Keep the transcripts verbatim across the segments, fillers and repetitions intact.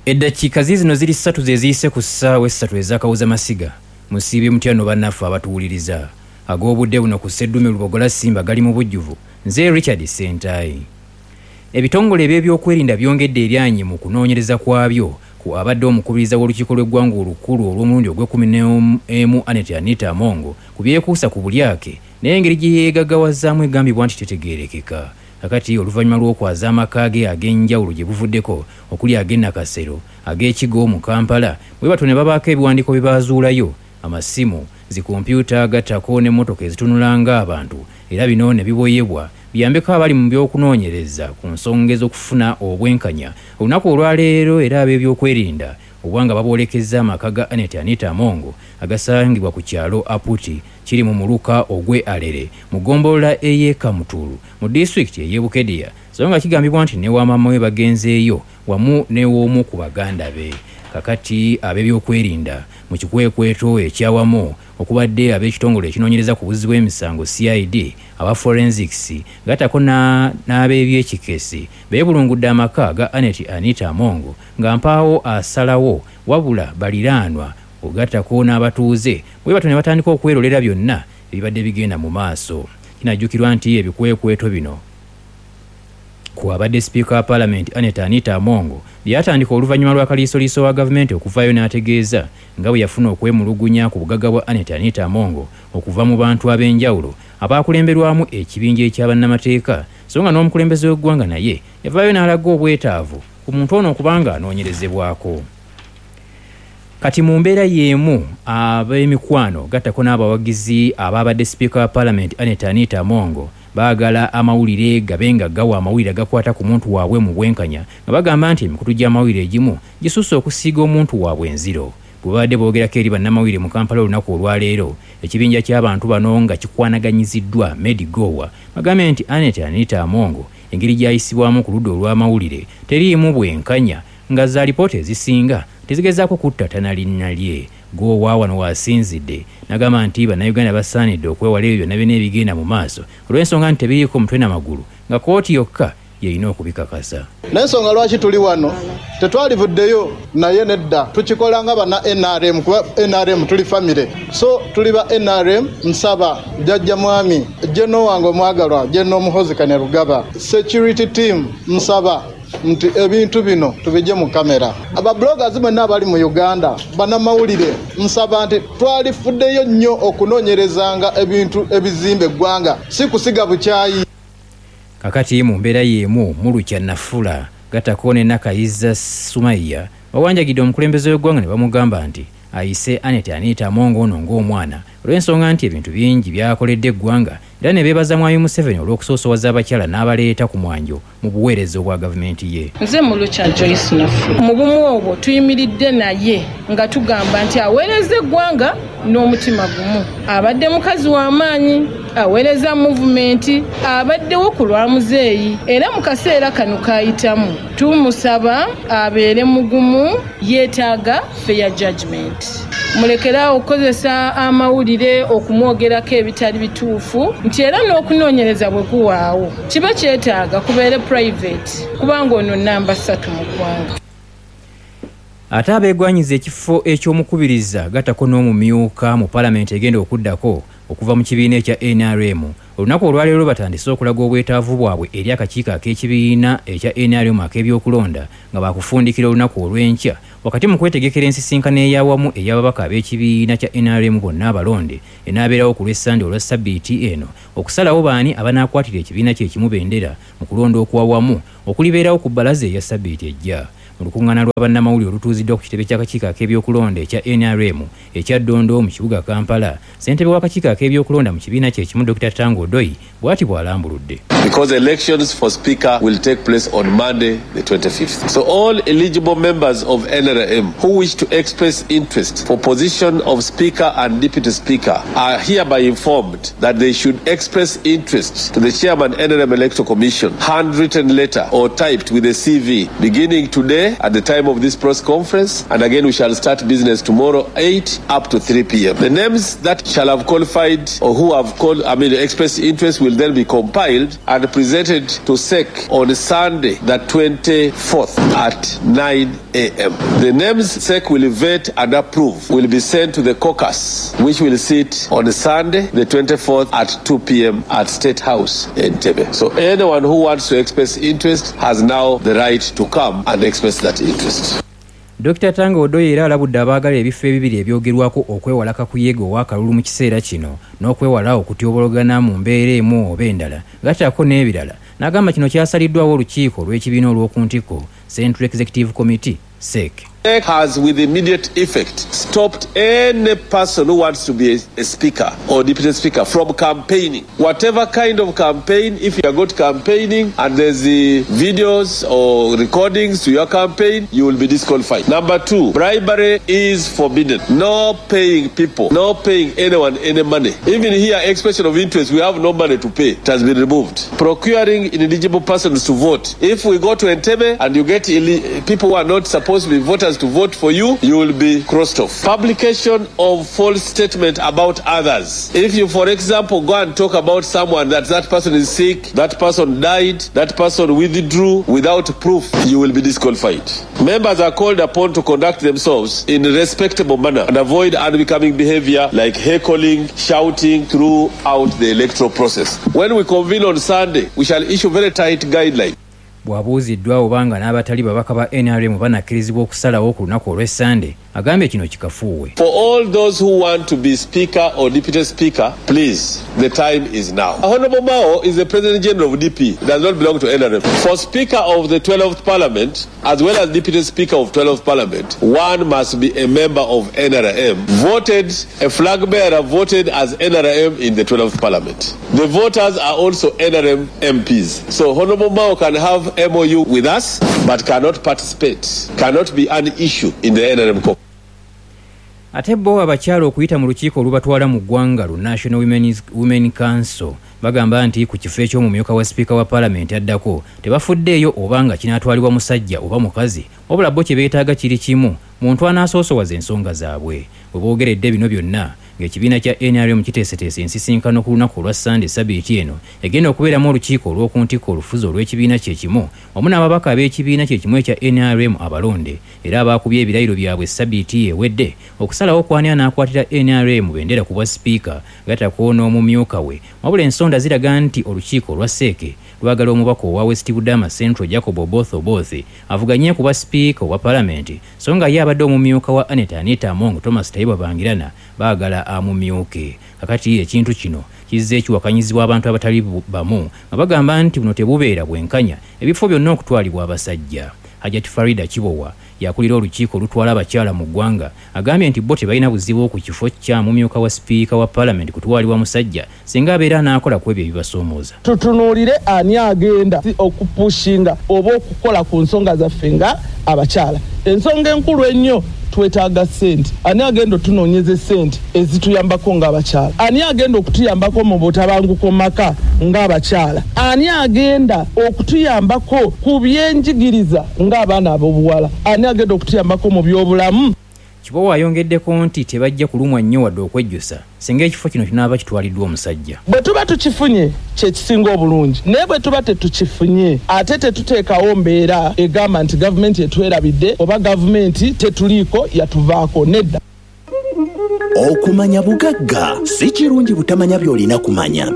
Eddakiika ziizino ziri ssatu ze ziyise ku ssaawa essatu ez'akawuza masiga. Musiibye mutya nno bannaffe abatuwuliriza. Ag'obudde buno ku Sseddume Lubogola Simba gali mu bujjuvu. Nze Richard Ssentayi. Ebitongole eby'ebyokwerinda byongedde eryanyi mu kunoonyereza kwabyo ku abadde omukubiriza w'olukiiko lw'eggwanga olukulu olw'omulundi ogw'ekkumi n'emu Annet Anita Among ku byekuusa ku bulyake n'engeri gye yeegaggawazzaamu egambibwa nti tetegeerekeka. Kakati oluvannyuma lw'okwaza amaka ge ag'enjawulo gye buvuddeko okuli ag'e Nakasero, ag'Ekigo mu Kampala, bwe batyo ne babaako ebiwandiiko bye baazuulayo, amasimu, zikompyuta agattako n'emmotoka ezitunula ng'abantu, era bino ne biboyebwa biyambeko abali mu by'okunoonyereza ku nsonga ez'okufuna obwenkanya. Olunaku olwaleero era ab'ebyokwerinda obwanga baboolekezza amaka ga Annet Anita Among agasangibwa ku kyalo Aputi kiri mu muluka ogw'e Alere mu ggombolola ey'e Kamutulu mu disitulikiti ey'e Bukedea, so nga kigambibwa nti ne wamaama we bagenzeeyo wamu n'ew'omu ku baganda be. Kakati ab'ebyokwerinda mu kikwekweto ekyawamu okubadde ab'ekitongole ekinoonyereza ku buzzi bw'emisango C I D, aba forensics gattako n'ab'ebyekikesi beebulungudde amaka ga Annet Anita Among nga mpaawo asalawo wabula baliraanwa ogattako n'abatuuze bwe batyo ne batandika okwerolera byonna ebibadde bigenda mu maaso. Kinajjukirwa nti ebikwekweto bino ku abadde sipiika wa Paalamenti Annet Anita Among byatandika oluvannyuma lwa kaliisoliiso wa gavumenti okuvaayo n'ategeeza nga bwe yafuna okwemulugunya ku bugagga bwa Annet Anita Among okuva mu bantu ab'enjawulo abaakulemberwamu ekibinja eky'abannamateeka, so nga n'omukulembeze w'eggwanga naye yavaayo n'alaga obwetaavu ku muntu ono okubanga anoonyerezebwako. Kati mu mbeera y'emu ab'emikwano gattako n'abawagizi abaabadde sipiika wa Paalamenti Annet Anita Among baagala amawulire gabe nga gawa amawulire agakwata ku muntu waabwe mu bwenkanya, nga bagamba nti emikutu gy'amawulire egimu gisusse okusiiga omuntu waabwe enziro. Bwe babadde boogerako eri bannamawulire mu Kampala olunaku olwaleero, ekibinja ky'abantu bano nga kikwanaganyiziddwa Medi Gowa bagambye nti Annet Anita Among engeri gy'ayisibwamu ku ludda olw'amawulire teriimu bwenkanya nga za alipoota ezisinga tezigezaako kuttatana linnya lye. Gowa wano waasinzidde n'agamba nti bannayuganda basaanidde okwewala ebyo byonna byonna ebigenda mu maaso olw'ensonga nti tebiriiko mutwe na magulu nga kkooti yokka y'erina okubikakasa. N'ensonga lwaki tuli wano tetwalivuddeyo naye nedda, tukikola nga banna N R M kuba N R M tuli famire, so tuli ba N R M. Nsaba jjajja mwami Jeno wange omwagalwa Jeno Muhoozi Kainerugaba, security team, nsaba nti ebintu bino tubijje mu kamera. Ababloggers mwenna abali mu Uganda, bannamawulire, nsaba nti twalifuddeyo nnyo okunoonyerezanga ebintu ebizimba eggwanga, si kusiga bukyayi. Kakati mu mbeera y'emu Mulukya Nafula gattako ne Nakayiza Sumaiya bawanjagidde omukulembeze w'eggwanga ne bamugamba nti ayise Annet Anita Among ono ng'omwana olw'ensonga nti ebintu bingi by'akoledde eggwanga, era ne beebaza Mwami Museveni olw'okusoosowaza abakyala n'abaleeta ku mwanjo mu buweereza obwa gavumenti ye. Nze Mulukya Joyce Nafula. Mu bumu obwo tuyimiridde naye nga tugamba nti aweereza eggwanga n'omutima gumu. Abadde mukazi w'amaanyi, aweereza muvumenti, abaddewo ku lwa muzeeyi, era mu kaseera kano k'ayitamu tumusaba abeere mugumu, yeetaaga fair judgment. Mulekeraawo okukozesa amawulire okumwogerako ebitali bituufu, nti era n'okunoonyereza bwe kuwaawo kiba kyetaaga kubeere private, kubanga ono namba ssatu mu ggwanga. Ate abeegwanyiza ekifo eky'omukubiriza gattako n'omumyuka mu Paalamenti egenda okuddako okuva mu kibiina ekya N R M olunaku olwaleero batandise okulaga obwetaavu bwabwe eri akakiiko ak'ekibiina ekya N R M ak'ebyokulonda nga baakufundikira olunaku olw'enkya wakati mu kwetegekera ensisinkano ey'awamu ey'ababaka ab'ekibiina kya N R M bonna abalonde enaabeerawo ku lw'Essande olwa ssabbiiti eno okusalawo baani abanaakwatira ekibiina kye kimu bendera mu kulonda okwawamu okulibeerawo ku bbalaza eya ssabbiiti ejja. Mu lukuŋŋaana lwa bannamawulire olutuuziddwa ku kitebe ky'akakiiko ak'ebyokulonda ekya N R M ekya Ddondo mu kibuga Kampala, ssentebe w'akakiiko ak'ebyokulonda mu kibiina kye kimu Dokita Tango Odoi bw'ati bw'alambuludde. Because elections for speaker will take place on Monday the twenty-fifth. So all eligible members of N R M who wish to express interest for position of speaker and deputy speaker are hereby informed that they should express interest to the chairman N R M Electoral Commission, handwritten letter or typed with a C V beginning today today at the time of this press conference, and again we shall start business tomorrow eight up to three p m. The names that shall have qualified or who have called, I mean, expressed interest will then be compiled and presented to S E C on Sunday, the twenty-fourth at nine a m. The names S E C will vet and approve will be sent to the caucus, which will sit on Sunday, the twenty-fourth at two p m at State House in Entebbe. So anyone who wants to express interest has now the right to come and express that interest. Doctor Tanga Odoi era alabudde abaagala ebifo ebibiri ebyogerwako okwewala kakuyege ow'akalulu mu kiseera kino n'okwewala okutyobologana mu mbeera emu oba endala, gattako n'ebirala, n'agamba kino kyasaliddwawo olukiiko olw'ekibiina olw'oku ntikko, Central Executive Committee, S E C. Has with immediate effect stopped any person who wants to be a, a speaker or deputy speaker from campaigning. Whatever kind of campaign, if you are got campaigning and there's the videos or recordings to your campaign, you will be disqualified. Number two, bribery is forbidden. No paying people, no paying anyone any money. Even here, expression of interest, we have no money to pay. It has been removed. Procuring ineligible persons to vote. If we go to Entebbe and you get people who are not supposed to be voters to vote for you, you will be crossed off. Publication of false statement about others. If you, for example, go and talk about someone that that person is sick, that person died, that person withdrew without proof, you will be disqualified. Members are called upon to conduct themselves in a respectable manner and avoid unbecoming behavior like heckling, shouting throughout the electoral process. When we convene on Sunday, we shall issue very tight guidelines. Bw'abuuziddwa obanga n'abatali babaka ba N R M banakkirizibwa okusalawo ku lunaku olw'Essande, agambye kino kikafuuwe. For all those who want to be speaker or deputy speaker, please, the time is now. Honorable Mao is the President General of D P, does not belong to N R M. For Speaker of the twelfth Parliament, as well as Deputy Speaker of twelfth Parliament, one must be a member of N R M, voted, a flag bearer voted as N R M in the twelfth Parliament. The voters are also N R M M Ps. So Honorable Mao can have M O U with us, but cannot participate, cannot be an issue in the N R M caucus. Ate bo abakyala okuyita mu lukiiko olubatwala mu ggwanga lu National Women's, Women Council bagamba nti ku kifo eky'omumyuka wa sipiika wa paalamenti addako tebafuddeeyo oba nga kinaatwalibwa musajja oba mukazi, wabula bo kye beetaaga kiri kimu, muntu anaasoosowaza ensonga zaabwe. Bwe boogeredde bino byonna ng'ekibiina kya N R M kiteeseteese ensisinkano ku lunaku olwa Sande sabiiti eno egenda okubeeramu olukiiko olw'oku ntikko olufuzi olw'ekibiina kye kimu wamu n'ababaka ab'ekibiina kye kimu ekya N R M abalonde era abaakubye ebirayiro byabwe sabiiti ewedde okusalawo kwani anaakwatira N R M bendera ku bwa sipiika gattako n'omumyuka we. Wabula ensonda ziraga nti olukiiko olwa S E C lwagala omubaka owa West Budama Central Jacob Oboth Oboth avuganye ku bwa sipiika owa paalamenti, so nga ye abadde omumyuka wa Anita Anita Among Thomas Tayebwa Bangirana baagala amumyuke. Kakati ekintu kino kizze kiwakanyizibwa abantu abatali bamu nga bagamba nti buno tebubeera bwenkanya ebifo byonna okutwalibwa abasajja. Hajati Farida Kibowa yakulira olukiiko olutwala abakyala mu ggwanga agambye nti bo tebalina buzibu ku kifo kya mumyuka wa sipiika wa paalamenti kutwalibwa musajja singa abeera anaakola ku ebyo ebibasoomooza. Tutunuulire ani agenda okupushinga oba okukola ku nsonga zaffe nga abakyala. Ensonga enkulu ennyo, twetaaga ssente. Ani agenda otunoonyeza essente ezituyambako ng'abakyala? Ani agenda okutuyambako mu butabanguko maka ng'abakyala? Ani agenda okutuyambako ku byenjigiriza ng'abaana ab'obuwala? Ani agenda okutuyambako mu byobulamu? Kibowa ayongeddeko nti tebajja kulumwa nnyo wadde okwejjusa singa ekifo kino kinaaba kitwaliddwa omusajja. Bwe tuba tukifunye kyekisinga obulungi, naye bwe tuba tetukifunye ate tetuteekawo mbeera egamba nti gavumenti etwerabidde oba gavumenti tetuliiko yatuvaako, nedda. Okumanya bugagga. Si kirungi butamanya by'olina kumanya.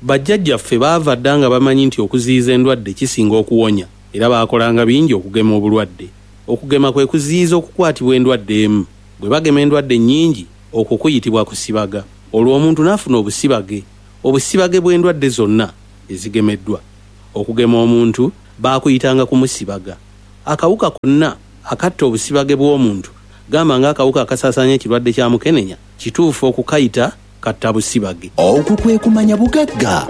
Bajjajjaffe baava dda nga bamanyi nti okuziyiza endwadde kisinga okuwonya, era baakolanga bingi okugema obulwadde. Okugema kwe kuziyiza okukwatibwa endwadde emu. Bwe bagema endwadde nnyingi, okwo kuyitibwa kusibaga. Olwo omuntu n'afuna obusibage, obusibage bw'endwadde zonna ezigemeddwa. Okugema omuntu baakuyitanga kumusibaga. Akawuka konna akatta obusibage bw'omuntu, gamba ng'akawuka akasaasaanya ekirwadde kya mukenenya, kituufu okukayita katta busibage. Okwo kwe kumanya bugagga.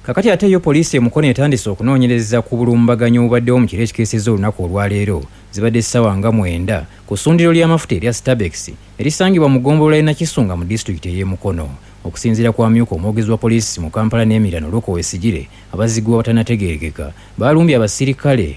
Kakati ate yo poliisi e Mukono etandise okunoonyereza ku bulumbaganyi obubaddewo mu kiro ekikeesezza olunaku olwaleero, zibadde ssaawa nga mwenda, ku ssundiro ly'amafuta erya Stabex erisangibwa mu ggombolola y'e Nakisunga mu disitulikiti ey'e Mukono. Okusinziira ku amyuka omwogezi wa poliisi mu Kampala n'emiriraano Loko Wesigire, abazigu abatanategeerekeka balumbye abasirikale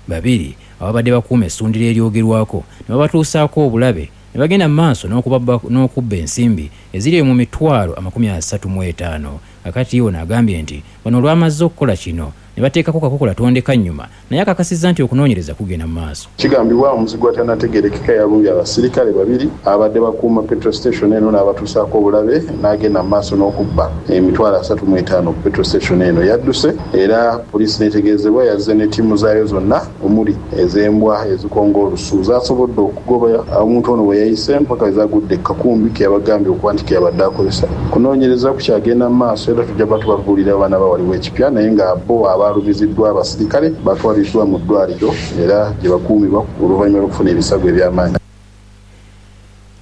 babiri ababadde bakuuma essundiro eryogerwako ne babatuusaako obulabe ne bagenda mu maaso n'okubba ensimbi eziri mu mitwalo amakumi asatu mu etaano. Akati ono agambye nti bano olwamaze okukola kino ne bateekako kakokola tondeka nnyuma, naye akakasizza nti okunoonyereza kugenda mu maaso. Kigambibwa omuzigu atanategeerekeka yalumbye abasirikale babiri abadde bakuuma petrol station eno n'abatuusaako obulabe n'agenda mu maaso n'okubba emitwalo asatu mu etaano ku petrol station eno. Yadduse era poliisi n'etegeezebwa yazze ne ttiimu zaayo zonna omuli ez'embwa ezikonga olusu zasobodde okugoba omuntu ono we yayise mpaka ezagudde kakumbi ke yabagambye okuba nti ke yabadde akozesa. Kunoonyereza kukyagenda mu maaso era tujja kuba tubabuulira abaana bawaliwo ekipya, naye nga bo abalumiziddwa abasirikale batwaliddwa mu ddwaliro era gye bakuumibwa oluvannyuma lw'okufuna ebisago eby'amaanyi.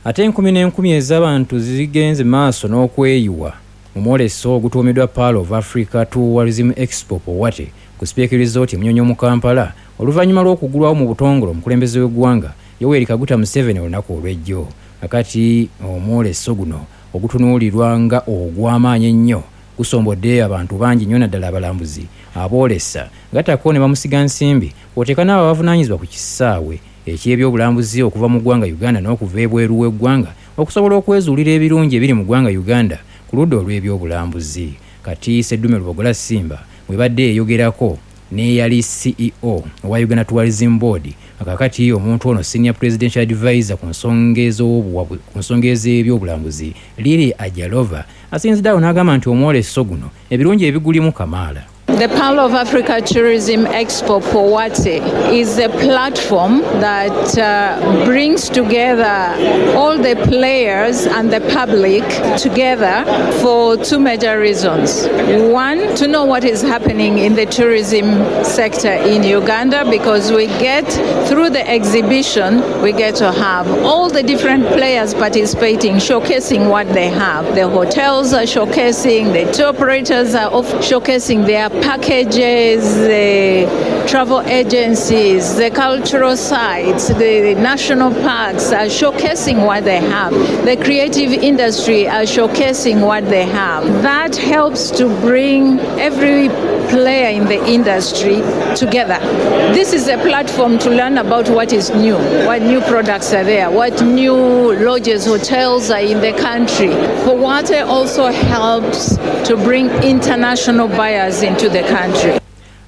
Ate enkumi n'enkumi ez'abantu zigenze maaso n'okweyiwa mu mwoleso ogutuumiddwa Pearl of Africa Tourism Expo Powate ku Speke Resort e Munyonyo mu Kampala oluvannyuma lw'okugulwawo mu butongole omukulembeze w'eggwanga Yoweri Kaguta Museveni olunaku olw'ejjo. Akati omwoleso guno ogutunuulirwa nga ogw'amaanyi ennyo gusombodde abantu bangi nnyo naddala abalambuzi aboolesa gattako ne bamusiga nsimbi oteeka n'abo abavunaanyizibwa ku kisaawe eky'ebyobulambuzi okuva mu ggwanga Uganda n'okuva ebweru w'eggwanga okusobola okwezuulira ebirungi ebiri mu ggwanga Uganda ku ludda olw'ebyobulambuzi. Kati Seddume Lubogola Simba bwebadde eyogerako n'eyali C E O owa Uganda Tourism Board, akakati omuntu ono Senior Presidential Advisor ku nsonga ez'ebyobulambuzi Lili Ajalova asinzidde awo n'agamba nti omwoleso guno ebirungi ebigulimu kamaala. The Pearl of Africa Tourism Expo Powate is a platform that uh, brings together all the players and the public together for two major reasons. One, to know what is happening in the tourism sector in Uganda, because we get, through the exhibition, we get to have all the different players participating, showcasing what they have. The hotels are showcasing, the tour operators are showcasing their packages, the travel agencies, the cultural sites, the national parks are showcasing what they have. The creative industry are showcasing what they have. That helps to bring every player in the industry together. This is a platform to learn about what is new, what new products are there, what new lodges, hotels are in the country. Powate also helps to bring international buyers into the country.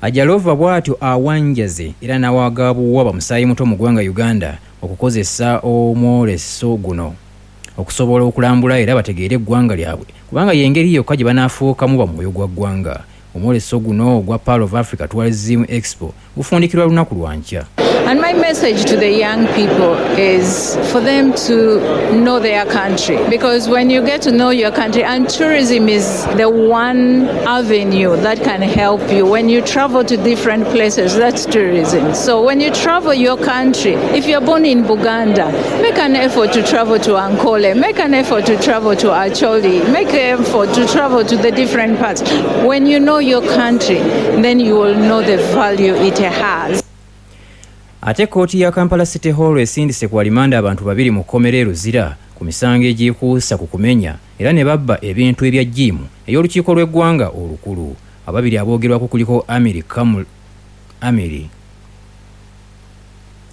Ajalova bw'atyo awanjaze era n'awagabuwa bamusaayi muto mu ggwanga Uganda okukozesa omwoleso guno okusobola okulambula era bategeere eggwanga lyabwe, kubanga y'engeri yokka gye banaafuukamu bamwoyo gwa ggwanga. Omwoleso guno ogwa Pearl of Africa Tourism Expo gufundikirwa lunaku lwa nkya. And my message to the young people is for them to know their country, because when you get to know your country, and tourism is the one avenue that can help you. When you travel to different places, that's tourism. So when you travel your country, if you're born in Buganda, make an effort to travel to Ankole, make an effort to travel to Acholi, make an effort to travel to the different parts. When you know your country, then you will know the value it has. Ate kkooti ya Kampala City Hall esindise ku alimanda abantu babiri mu kkomera e Luzira ku misango egyekuusa ku kumenya era ne babba ebintu ebya jjiimu ey'olukiiko lw'eggwanga olukulu. Ababiri aboogerwako kuliko Amiri Kamul Amiri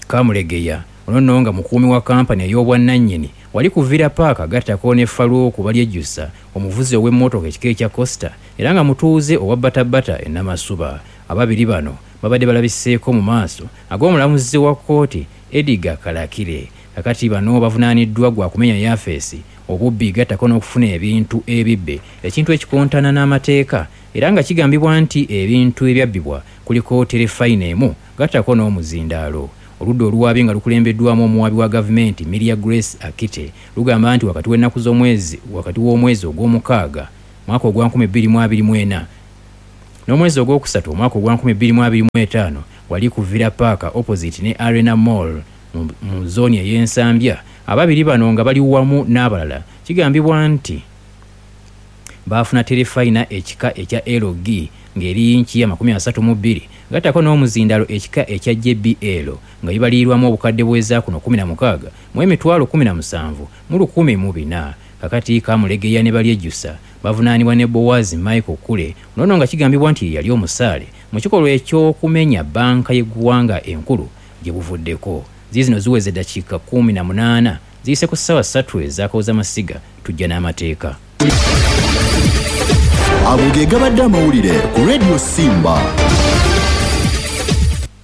Kamulegeya, ono nno nga mukuumi wa kampani ey'obwannannyini wali ku Villa Park, agattako ne Faluuku Balyejjusa omuvuzi ow'emmotoka ekika ekya Costa era nga mutuuze owa Bbatabata e Namasuba. Ababiri bano babadde balabiseeko mu maaso ag'omulamuzi wa kkooti Edgar Kalakire. Kakati bano bavunaaniddwa gwa kumenya yafeesi, obubbi gattako n'okufuna ebintu ebibbe, ekintu ekikontana n'amateeka, era nga kigambibwa nti ebintu ebyabbibwa kuliko terefayina emu gattako n'omuzindaalo. Oludda oluwaabi nga lukulembeddwamu omuwaabi wa gavumenti Miria Grace Akite lugamba nti wakati w'ennaku z'omwezi wakati w'omwezi ogw'omukaaga mwaka ogwa nkumi bbiri mu abiri mu ena n'omwezi ogwokusatu omwaka ogwa nkumi bbiri mu abiri mu etaano wali ku Villa Park opposite ne Arena Mall mu zooni ey'Ensambya. Ababiri bano nga bali wamu n'abalala kigambibwa nti baafuna terefayina ekika ekya L G ng'eri yinki ya makumi asatu mu bbiri gattako n'omuzindaalo ekika ekya J B L nga bibalirirwamu obukadde bw'eza kuno kumi na mukaaga mu emitwalo kumi na musanvu mu lukumi mu bina. Kakati Kamulegeya ne Balyejjusa bavunaanibwa ne Bowazi Michael Kule, nono nga kigambibwa nti yali omusaale mu kikolwa eky'okumenya bbanka y'eggwanga enkulu gye buvuddeko. Ziizino ziweze eddakiika kkumi na munaana ziyise ku ssaawa ssatu ez'akawuza masiga. Tujja n'amateeka. Ago ge gabadde amawulire ku Radio Simba.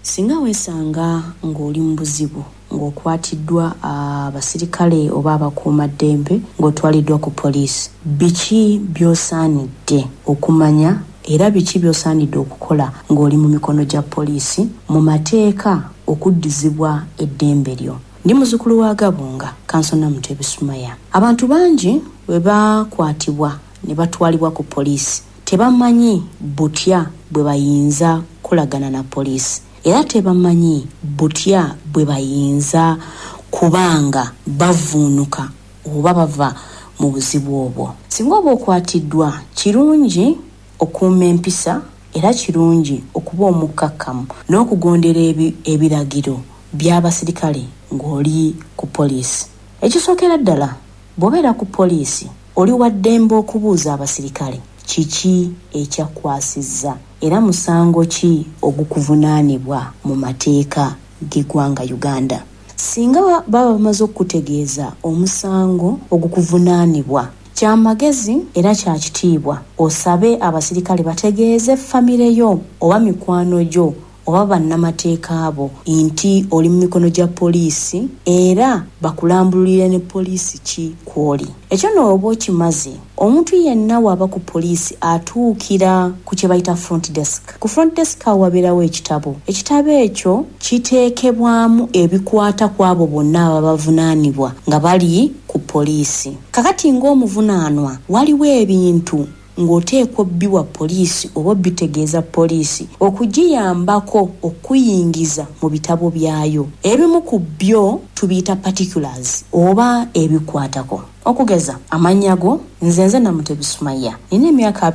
Singa weesanga ng'oli mu buzibu, ng'okwatiddwa abasirikale oba abakuumaddembe, ng'otwaliddwa ku poliisi, biki by'osaanidde okumanya era biki by'osaanidde okukola ng'oli mu mikono gya poliisi mu mateeka okuddizibwa eddembe lyo? Ndi muzzukulu wa Gabunga, Kansona Mutebi Sumaya. Abantu bangi bwe bakwatibwa ne batwalibwa ku poliisi tebamanyi butya bwe bayinza kukolagana na poliisi, era tebamanyi butya bwe bayinza kubanga bavuunuka oba bava mu buzibu obwo. Singa oba okwatiddwa, kirungi okuuma empisa era kirungi okuba omukkakkamu n'okugondera ebiragiro by'abasirikale ng'oli ku poliisi. Ekisookera ddala, bw'obeera ku poliisi oli wa ddembe okubuuza abasirikale kiki ekyakwasizza era musango ki ogukuvunaanibwa mu mateeka g'eggwanga Uganda. Singa baba bamaze okukutegeeza omusango ogukuvunaanibwa, kyamagezi era kya kitiibwa osabe abasirikale bategeeze famire yo oba mikwano gyo oba bannamateeka abo nti oli mu mikono gya poliisi era bakulambululire ne poliisi ki kw'oli. Ekyo nno oba okimaze, omuntu yenna waba ku poliisi atuukira ku kye bayita front desk. Ku front desk awo wabeerawo ekitabo. Ekitabo ekyo kiteekebwamu ebikwata ku abo bonna ababavunaanibwa nga bali ku poliisi. Kakati ng'omuvunaanwa, waliwo ebintu ng'oteekwa obbiwa poliisi oba obitegeeza poliisi okugiyambako okuyingiza mu bitabo byayo. Ebimu ku byo tubiyita particulars oba ebikwatako. Okugeza amannya go, nze nze Namutebi Sumaya, nina emyaka